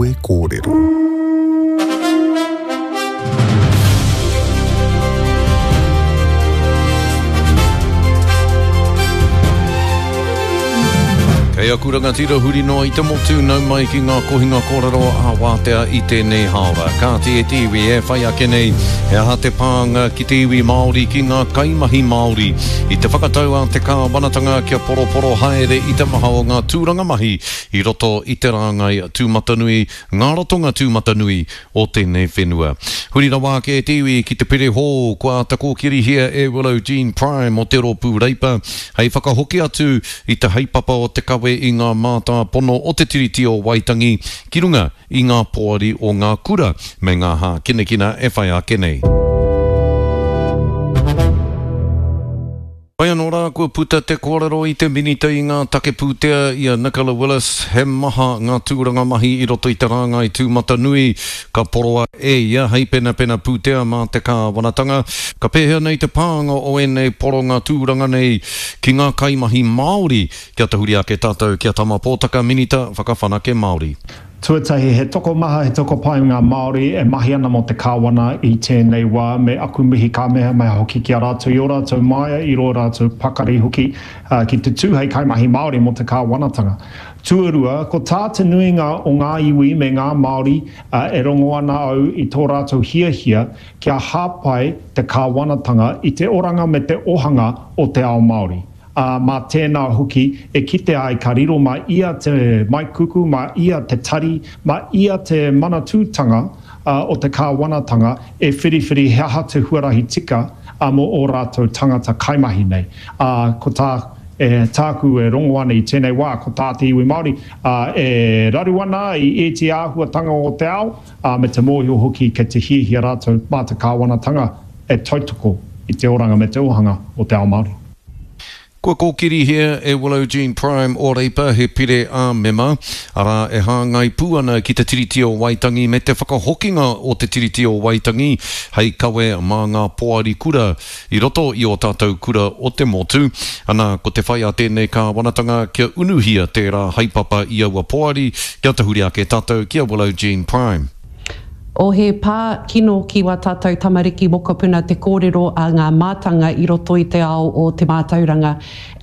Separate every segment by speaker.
Speaker 1: Kawe Kōrero.
Speaker 2: Kei aku rangatira huri noa i te motu, nau mai ki ngā kohinga kōrero a Wātea i tēnei hāora. Kāti e te iwi e whai ake nei, he aha te pānga ki te iwi Māori, ki ngā kaimahi Māori i te whakatau a te kāwanatanga kia poroporo haere i te maha o ngā tūranga mahi i roto i te rāngai tūmatanui, ngā ratonga tūmatanui o tēnei whenua. Huri rawa ake e te iwi ki te pere hou kua āta kōkirihia e Willow Jean Prime o te Rōpū Reipa hei whakahoki atu i te haepapa o te kawe i ngā mātāpono o te Tiriti o Waitangi ki runga i ngā poari o ngā kura me ngā hākinakina e whai ake nei. Whai anō rā kua puta te kōrero i te Minita i ngā take pūtea i a Nicola Willis he maha ngā tūranga mahi i roto i te rāngai tūmatanui ka poroa e ia hei penapena pūtea mā te kāwanatanga. Ka pēhea nei te pānga o ēnei poronga tūranga nei ki ngā kaimahi Māori? Kia tahuri ake tātou ki a Tama Pōtaka, Minita Whakawhanake Māori.
Speaker 3: Tuatahi, he tokomaha, he tokopae ngā Māori e mahi ana mō te Kāwana i tēnei wā, me aku mihi kāmehameha hoki ki a rātou i ō rātou māia, i rō rātou pakari hoki ki te tū hei kaimahi Māori mō te Kāwanatanga. Tuarua, ko tā te nuinga o ngā iwi me ngā Māori e rongo ana au i tō rātou hiahia kia hāpai te Kāwanatanga i te oranga me te ohanga o te ao Māori. Ā, mā tēnā hoki e kite ai ka riro mā ia te maikuku, mā ia te tari, mā ia te manatūtanga o te kāwanatanga e whiriwhiri he aha te huarahi tika mō ō rātou tangata kaimahi nei. Ā, ko tā, e, tāku e rongo ana i tēnei wā, ko tā te iwi Māori, ā, e raru ana i ēti āhuatanga o te ao, ā, me te mōhio hoki kei te hiahia rātou mā te kāwanatanga e tautoko i te oranga me te ohanga o te ao Māori.
Speaker 2: Kua kōkirihia e Willow Jean Prime o Reipa he pire ā-mema, arā, e hāngai pū ana ki te Tiriti o Waitangi me te whakahokinga o te Tiriti o Waitangi hei kawe mā ngā poari kura i roto i ō tātou kura o te motu. Ana, ko te whai a tēnei kāwanatanga kia unuhia tērā haepapa i aua poari, kia tahuri ake tātou ki a Willow Jean Prime.
Speaker 4: O He pā kino ki wā tātou tamariki mokopuna te kōrero a ngā mātanga i roto i te ao o te mātauranga.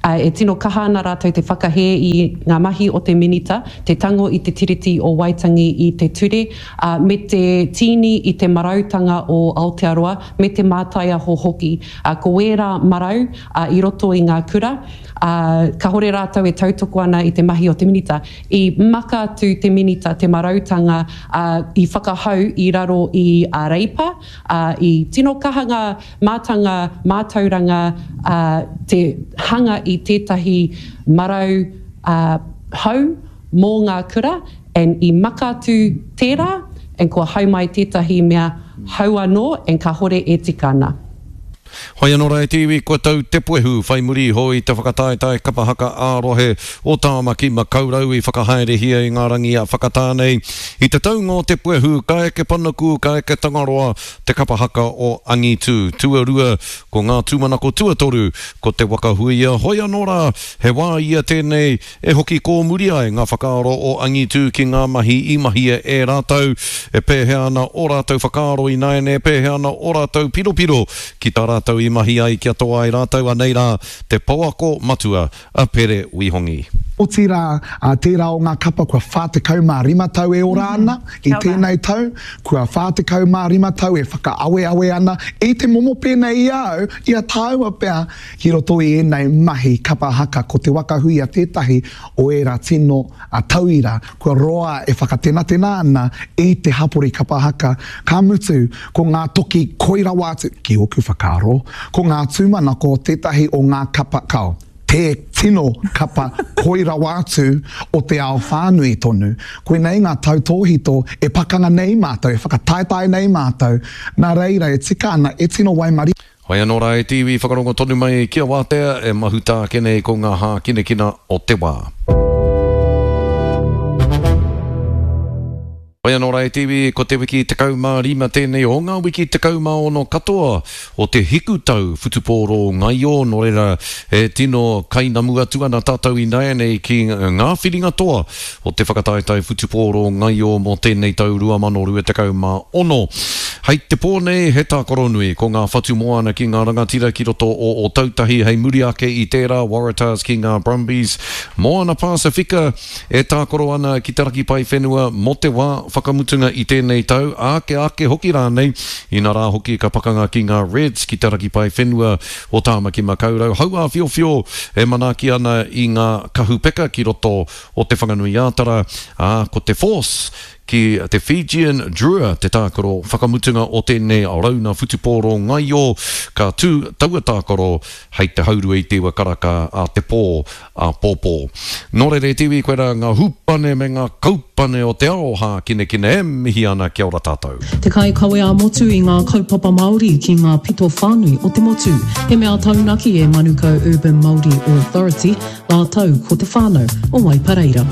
Speaker 4: E tino kaha ana rātou te whakahē i ngā mahi o te Minita, te tango i te Tiriti o Waitangi i te ture, ā, me te tīni i te marautanga o Aotearoa, me te mātaiaho hoki. Ā, ko ērā marau, ā, i roto i ngā kura, ā, kāhore rātou e tautoko ana i te mahi o te Minita. I maka atu te Minita te marautanga, ā, i whakahau i raro i a Reipa, ā, i tino kaha ngā mātanga mātauranga, ā, te hanga i tētahi marau, ā, hou mō ngā kura, and i maka atu tērā, and kua hau mai tētahi mea hou anō, and kāhore e tika ana.
Speaker 2: Whai anō rā e te iwi, kua tau te puehu whai muri iho i te whakataetae kapa haka ā-rohe o Tāmaki Makaurau i whakahaerehia i ngā rangi a Whakatāne. I te taunga o te puehu, ka eke panuku, ka eke Tangaroa, te kapa haka o Angitu. Tuarua, ko ngā tūmanako tuatoru, ko Te Waka Huia. Hoi anō rā, he wā ia tēnei E hoki kōmuri ai ngā whakaaro o Angitu ki ngā mahi i mahia e rātou, e pēhea ana ō rātou whakaaro ināiane, e pēhea ana ō rātou piropiro ki tā rātou i mahi ai kia toa ai rātou, anei rā te pouako matua a Pere Wihongi.
Speaker 5: Otirā, tērā o ngā kapa kua 45 tau e ora ana i tēnei tau, kua 45 tau e whakaaweawe ana i te momo pēnei i a au, i a tāua pea, Ki roto i ēnei mahi kapa haka ko Te Waka Huia tētahi o ērā tino tauira kua roa e whakatenatena ana i te hapori kapa haka, ka mutu ko ngā toki koi rawa atu, ki ōku whakaaro, ko ngā tūmanako tētahi o ngā kapa, kao, te tino kapa koi rawa atu o te ao whānui tonu. Koinei ngā tautōhito e pakanga nei mātou, e whakataetae nei mātou, nā reira e tika ana e tino waimarie.
Speaker 2: Whai anō rā e te iwi whakarongo tonu mai ki a Wātea e mahuta ake nei ko ngā hākinakina o te wā. Whai anō rā e te iwi, ko te wiki 15 tēnei o ngā wiki 16 katoa o te hikutau whutupōro ngaio, nō reira e tino kainamu atu ana tātou ināianei ki ngā whiringa toa o te whakataetae whutupōro ngaio mō tēnei tau 2026. Hei te pō nei he tākaro nui, ko ngā whatu moana ki ngā rangatira ki roto o Ōtautahi hei muri ake i tērā Waratahs ki ngā Brumbies, Moana Pasifika, E tākaro ana ki te raki paewhenua mō te wā whakamutunga i tēnei tau, ake ake hoki rānei, inarā hoki ka pakanga ki ngā Reds ki te raki paewhenua o Tāmaki Makaurau. Hauāwhiowhio e manaaki ana i ngā kahu peka ki roto o Te Whanganui-ā-Tara, ā, ko te Force ki te Fijian Drua te tākaro whakamutunga o tēnei rauna whutupōro ngaio, ka tū taua tākaro hei te haurua i te iwa karaka a te pō āpōpō. Nō reira e te iwi, koirā ngā hūpane me ngā kaupane o te ao hākinakina e mihi ana kia ora tātou.
Speaker 1: Te kaikawe ā-motu i ngā kaupapa Māori ki ngā pito whānui o te motu. He mea taunaki e Manukau Urban Māori Authority rātou ko te whānau o Waipareira.